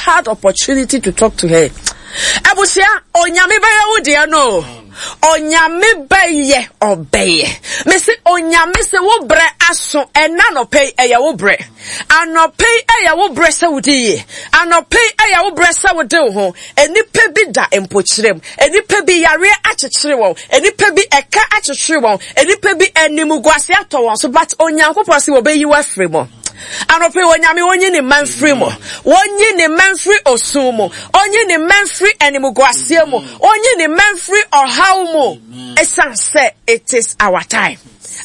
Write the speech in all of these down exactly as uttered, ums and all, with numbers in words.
had opportunity to talk to her. Abusua, Onyame bɛyɛ wo deɛ no. Onyame bɛyɛ ɔbɛyɛ. Mese Onyame sɛ wo brɛ aso ɛna anɔpɛ yi ɛyɛ wo brɛ. Anɔpɛ yi ɛyɛ wo brɛ sɛ wodi yie. Anɔpɛ yi ɛyɛ wo brɛ sɛ wode wo ho. Enipa bi da mpokyerɛ mu. Enipa bi yareɛ akyekyere wɔn. Enipa bi ɛka akyekyere wɔn. Enipa bi animguase atɔ wɔn so, but Onyankopɔn sɛ wɔbɛyi wo afiri mu. Anɔpɛ yi Onyame onyi ne mma mfiri mu. Onyi ne mma mfiri osun mu. Onyi ne mma mfiri animguaseɛ mu. Onyi ne mma mfiri ɔhaw mu. Ɛsiane sɛ it is our time.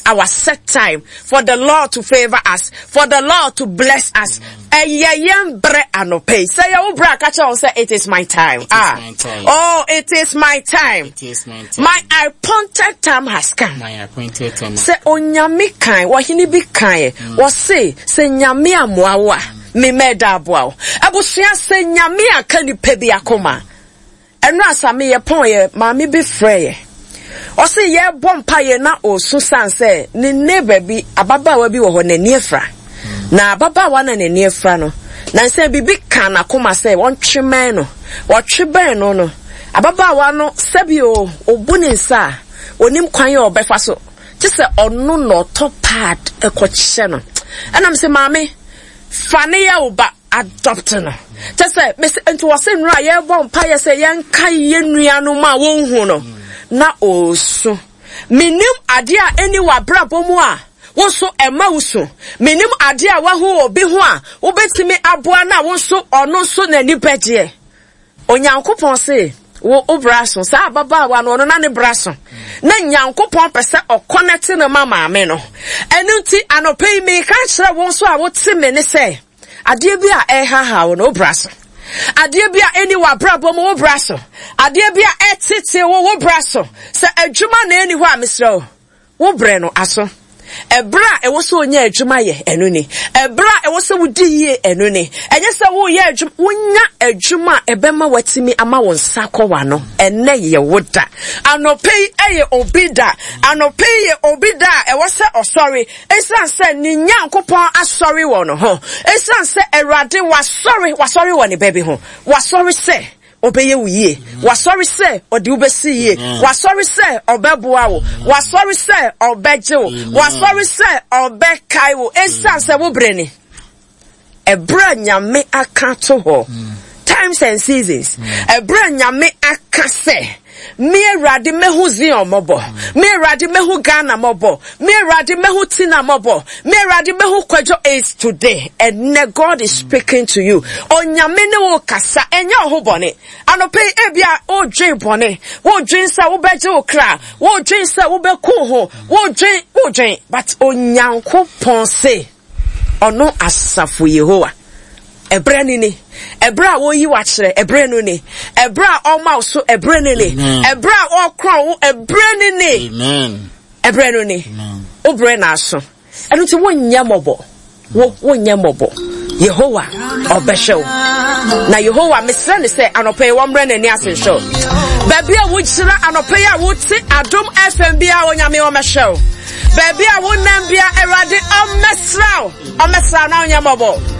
Our set time for the Lord to favor us, for the Lord to bless us. Ɛyɛ yɛn brɛ anɔpɛ yi. Sɛ yɛ wo brɛ a, ka kyerɛ wɔn sɛ it is my time. It is Ah. my time. Oh, it is my time. It is my time. My appointed time has come. My appointed time. Sɛ Onyame kan, wɔhene bi kan, wɔse sɛ Nyame amoa wo a, me mɛda aboa wo. Abusua, sɛ Nyame aka nipa bi akoma. Ɛno asa meyɛ pɔn yɛ maame bi frɛ yɛ. Ɔse yɛbɔ mpa yɛ na ɔsu san sɛ ne neighbor bi, ababaawa bi wɔ hɔ n'ani afira. Na ababaawa na n'ani afira no, na nsɛ biribi ka n'akoma sɛ wɔntwe bɛn no. Wɔtwe bɛn no no, ababaawa no sɛbi o, obu ne nsa a, onim kwan a ɔbɛfa so. Gye sɛ ɔno na ɔtɔ pad ɛkɔkyɛ no. Ɛnam sɛ maame, fa ne yɛ wo ba, adopt no. Kyɛ sɛ, mese, nti wɔse nnora a yɛbɔ mpa yɛ sɛ yɛnka yɛ nuanom a wɔnhu no, na ɔresu. Menim adeɛ a ɛni w'abrabɔ mu a, wo nso ɛma wo su. Menim adeɛ a wahu obi ho a, wobɛtumi aboa no a wo nso ɔno nso n'ani bɛgyeɛ. Onyankopɔn se, wo wo bra so. Saa ababaawa no, ɔno na ne bra so. Na Nyankopɔn pɛ sɛ ɔkɔnɛte no ma maame no. Ɛno nti, anɔpa yi, meka kyerɛ wo nso a wote me ne sɛ, adeɛ bi a ɛhaha wo no, wo bra so. Adeɛ bi a ɛni w'abrabɔ mu, wo bra so. Adeɛ bi a ɛtete wo, wo bra so. Sɛ adwuma na ɛni hɔ a, mesrɛ wo, wo brɛ no aso. Ɛberɛ a ɛwɔ sɛ onya adwuma yɛ, ɛno ni. Ɛberɛ a ɛwɔ sɛ wodi yie, ɛno ni. Ɛnyɛ sɛ woyɛ adwuma, wonya adwuma a ɛbɛma watumi ama wo nsa kɔ w'ano. Ɛnnɛ yɛ wo da. Anɔpa yi ɛyɛ obi da. Anɔpa yi yɛ obi da a ɛwɔ sɛ ɔsɔre. Ɛsiane sɛ ne Nyankopɔn asɔre wɔ ne ho. Ɛsiane sɛ Awurade wasɔre, wasɔre wɔ ne ba bi ho. Wasɔre sɛ ɔbɛyɛ wo yie. Wasɔre sɛ ɔde wo bɛsi yie. Wasɔre sɛ ɔbɛboa wo. Wasɔre sɛ ɔbɛgye wo. Wasɔre sɛ ɔbɛkae wo. Ɛsiane sɛ wo brɛ ni. Ɛberɛ a Nyame aka to hɔ. Times and seasons. Ɛberɛ a Nyame aka sɛ, me Awurade mɛhu Zion mmɔbɔ. Me Awurade mɛhu Ghana mmɔbɔ. Me Awurade mɛhu Tina mmɔbɔ. Me Awurade mɛhu Kwadwo is today. Ɛnɛ God is speaking to you. Onyame ne wo kasa. Ɛnyɛ wo ho bɔne. Anɔpa yi, ebia wodwen bɔne. Wodwen sɛ wobɛgye wo kra. Wodwen sɛ wobɛku ho. Wodwen, wodwen. But Onyankopɔn se, ɔno asafo Yehowa. Ɛberɛ no ni. Ɛberɛ a wɔyi w'akyerɛ, ɛberɛ no ni. Ɛberɛ a ɔma wo so, ɛberɛ no ni. Ɛberɛ a ɔkorɔn wo, ɛberɛ no ni. Amen. Ɛberɛ no ni. Amen. Wo brɛ na aso. Ɛno nti wonyɛ mmɔbɔ. Wo, wonyɛ mmɔbɔ. Yehowa ɔbɛhwɛ wo. Na Yehowa mesrɛ ne sɛ anɔpa yi wɔmmrɛ n'ani ase nhwɛ wo. Baabi a wogyina anɔpa yi a wote Adom F M bi a Onyame ɔmmɛhwɛ wo. Baabi a wonam bia Awurade ɔmmɛsra wo. Ɔmmɛsra na wonyɛ mmɔbɔ.